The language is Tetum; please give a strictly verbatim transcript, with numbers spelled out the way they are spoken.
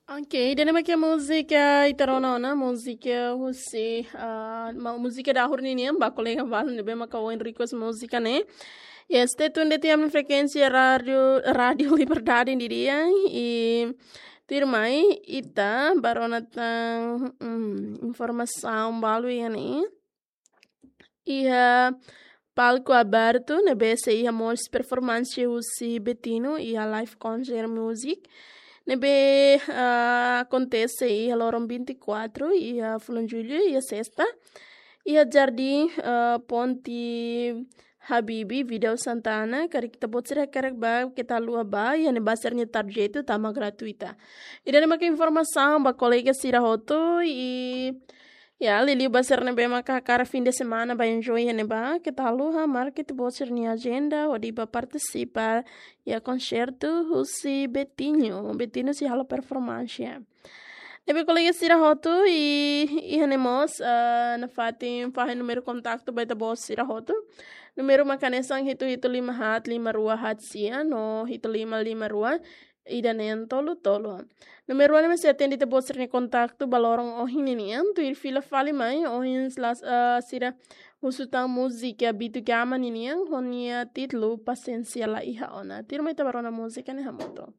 Ok, ida-ne'e mak múzika ita rona ona, múzika husi, ah, ma-, múzika dahur ninian, ba kolega balu ne'ebé maka ohin request múzika ne'e. Yes, stay tuned iha ami-nia frekuénsia rádiu, Rádiu Liberdade nian. I tuirmai ita bá rona tan, mm, informasaun balu iha ne'e. Iha palku abertu ne'ebé sei iha mós performance husi Betinho iha live concert music ne'ebé, ah, akontese iha loron vinte e quatro iha fulan Jullu, iha sesta, iha Jardín, ah, Ponte Habibi, Vidal Santana. Karik ita-boot sira hakarak bá, keta haluha bá, iha ne'ebá sira-nia tarjetu tama gratuita. Ida-ne'e maka informasaun ba kolega sira hotu. I ya, liuliu ba sira ne'ebé maka hakarak fim de semana bá enjoy iha ne'ebá, keta haluha marka ita-boot sira-nia ajenda hodi bá partisipa iha konsertu husi Betinho. Betinho sei halo performance. Ne'ebé kolega sira hotu, i iha ne'e mós, ah, nafatin fahe númeru kontaktu ba ita-boot sira hotu. Númeru mak hanesan hitu hitu lima haat lima rua haat sia no hitu lima lima rua ida neen tolu tolu. Númeru ne'e mak sei atende ita-boot sira-nia kontaktu ba loron ohin ninian, tuir fila fali mai, ohin sela-, ah, sira husu tan múzika Bitu Gama ninian, ho nia títulu Pasiénsia La Iha Ona. Tuirmai ita bá rona múzika ne'e hamutuk.